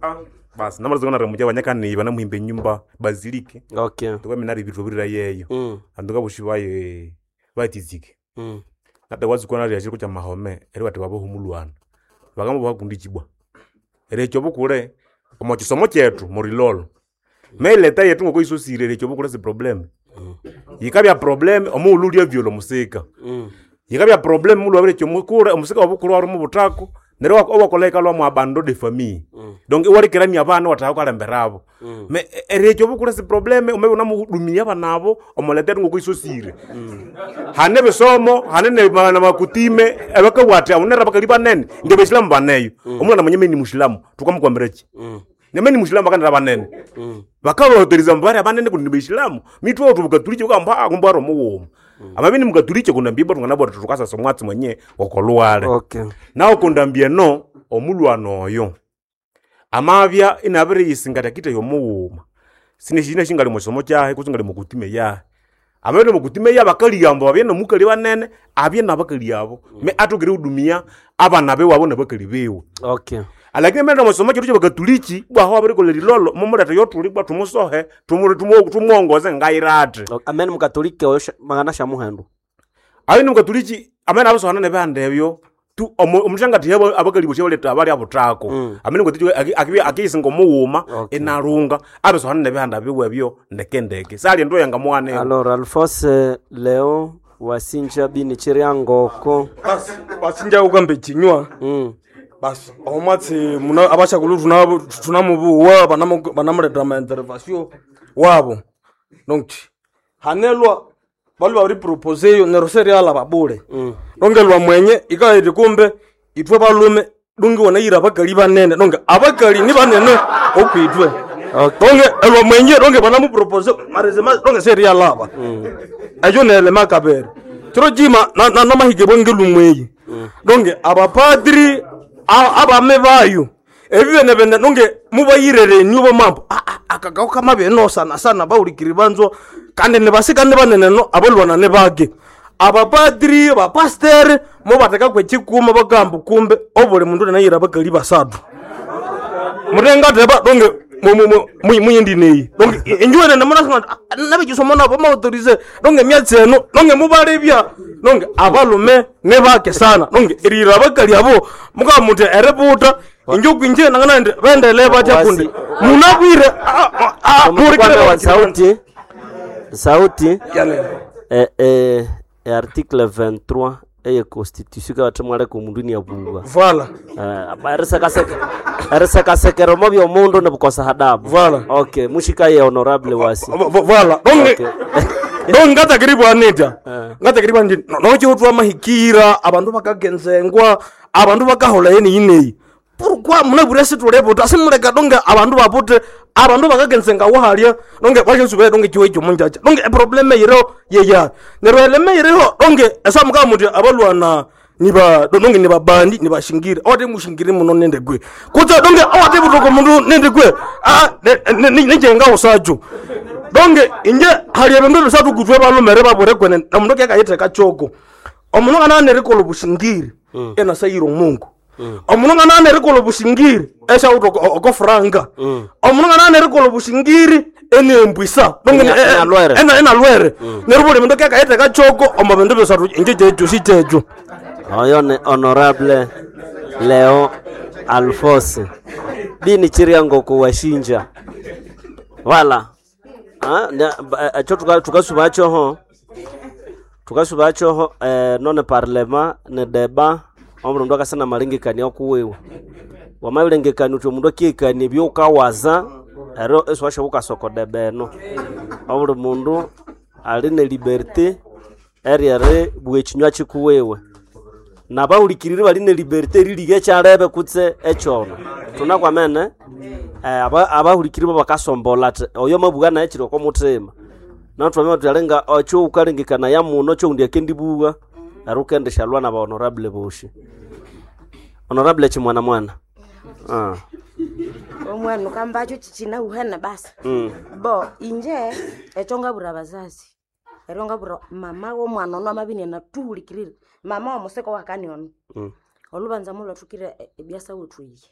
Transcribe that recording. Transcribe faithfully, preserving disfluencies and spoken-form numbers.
Ah, basi namalazangana ramuja banyakaniba namuhimba enyumba bazilike Okay. tukamina ribitubirira yeyo Mm. andu kabushi baye batizike Mm. nata wazikwana rya chiko cha mahome eri bati babohumulwana bakamba bakundi chibwa eri ekyo bukule omo kisomo kyetu murilolo meileta yetu ngoko isosire eri ekyo bukule si problem yikabya problem omughulhu ulya vyolo musika Mm. yikabya problem mulu wabire ekyo mukule omusika wabukulu wari mubutako neryo wak- owakola ikalwa mu abando de famille Mm. donc iwalekerania abana wataka kukalemberabo Mm. me eri ekyo bukule si problem omebe unamuhudumia abana abo omuleta yetu ngoko isosire hane bisomo hane ne- ma- na makutime ebakabwati aunera bakali banene nge besilamu baneyo omwana mwenye ni mushilamu tukamukwambiraki Mm. nyameni mushilamu bakanira banene Mm. bakabahoteriza mbari abanene kundi ni mitwe otu bukatulike bukamba kumbwara omuwuma amabi ni mukatulike kundambia bwa tungana bwa tukasasa omwatsi mwenye okolwale Okay. nawo kundambia no omulwana oyo amabya inabiriyisingatya kite yomuwuma sineshina shingali mukisomo kyahe kutse ngali mukutime yahe amabya mukutime ya bakali yambo babye nomukali banene abye nabakali abo me atokere hudumia abana bewabo nabakali bewe Okay. alakini mena musomo chetu chebakatuliki bwaho wabirikolera ilolo mumuleta yotuli bwa tumusohe tumu- tumu- tumuongoze ngairate Okay. Amen mukatolike oyo sha- mangana sha muhendo. ayo ni mukatuliki amene abisohana nebihanda ebyo tu omu- omushangati yabo abakali bosi abaleta abali abutako Mm. amene mukatuliki akisinga omuwuma Okay. inalunga abisohana nebihanda biwe ebyo ndekendeke sali endo yangamuwanewo Alors Alphonse Leo wasinja bini chiriangoko. Basi basinja ukambe chinywa Mm. basi omwatsi muna abashakulu tuna tunamubuwa banamu- banamuleta amaintervasio wabo donc hanelwa balu babiri proposeyo neryo seriala babule Mm. donge lwa mwenye ikaiti kumbe itwe balume dungi wanayira abakali banene donge abakali ni banene okwitwe Okay. donge elwa mwenye donge banamupropose marezema donge serialaba eyo nelema kabere chiro chima namahike bwenge lumweyi donge abapadri a- abame bayo ebi bene bene donge mubayirereni bo mambo akagao kamabeno sana sana baulikiri banzo kandi nibasikane banene no abalwana ne bake abapadri abapastere mubateka kwechikuma bagamba kumbe obuli mundu nanayira abakali basatu mutengateba donge muyindineyi donge injuwenene munasanga nabikisomo nabo maautorize donge myatsi eno donge mubalebya donge abalume nebake sana donge erira abakali abo mukamuti eributa injo kwinje nanganandi bendele batya Wasi- kundi munabwire Kwanza wa sauti. Sauti. Yani Eh, eh, eh, article vingt-trois eye constitution kabathemwaleka omundu niabuwa. Vala. Eh, erisekasekera omo byomundu nibukosa hadabu. Voilà. Okay, mushikaye honorable wasi. Vala donge Okay. donge ngatakiribwa nita Eh. ngatakiribwa ndi nochiutwa mahikira abandu bakagenzengwa abandu bakahola yeni yineyi pourquoi munabwire situleputa simuleka donge abandu bapute abandu bakagenzenga wahalya donge bashosuve donge chiwe chomunjacha donge eprobleme yiriho yeya neryo eleme yiriho donge esamukaa muti abalwana niba donge nibabandi nibashingiri awate mushingiri muno nende gwe kutse donge awate butoko mundu nende gwe ah, nenjenga usacho donge inje hali ebindu bisatu kutwe balumere babure kwene omundu kekayitheka choko omundu ngana nerikola obushingiri enasayira omungu omundu ngana nerikola obushingiri eshawuta oko franga omundu ngana nerikola obushingiri enembwisa donge Ena- enalwere. ena- enalwere neryo buli mundu kekayitheka choko omo bindu bisatu inje kyekyo sikyekyo Oyo ni honorable Leo Alphonse bini chiriangoko washinja. Wala. Ah, na- ba- eh, ekyo tuka- tukasuba kyoho tukasuba kyoho eh, none parlema ne deba omundu akasana malengekania okuwiwe wamabilengekania uthi omundu akihikania ebyoukawaza ero esiwasha ukasoko deba eno obuli mundu ali ne liberté eryeribugha ekinywa kikuwiwe nabawulikirire bali ne liberté eriliga ekyalebe kutse ekyono tunakwamene eh, aba- abahulikiri bo bakasombola ati oyo mabugha naye kiri oko muthima natwamenya tuyalenga ekyo wukalengekanaya muno kyoundi akendibugha neryo wukendishalwa na ba honorable boshi honorable chimwana mwana ah. Omwana ukambacho chichinauhana basi. mm. Bo inje ekyo ngabura abazazi eryo ngabura mama w'omwana ono amabini anatuhulikirire mama w'omuseko wakani ono Mm. olubanza mulwathukire ebyasa wethu iyi.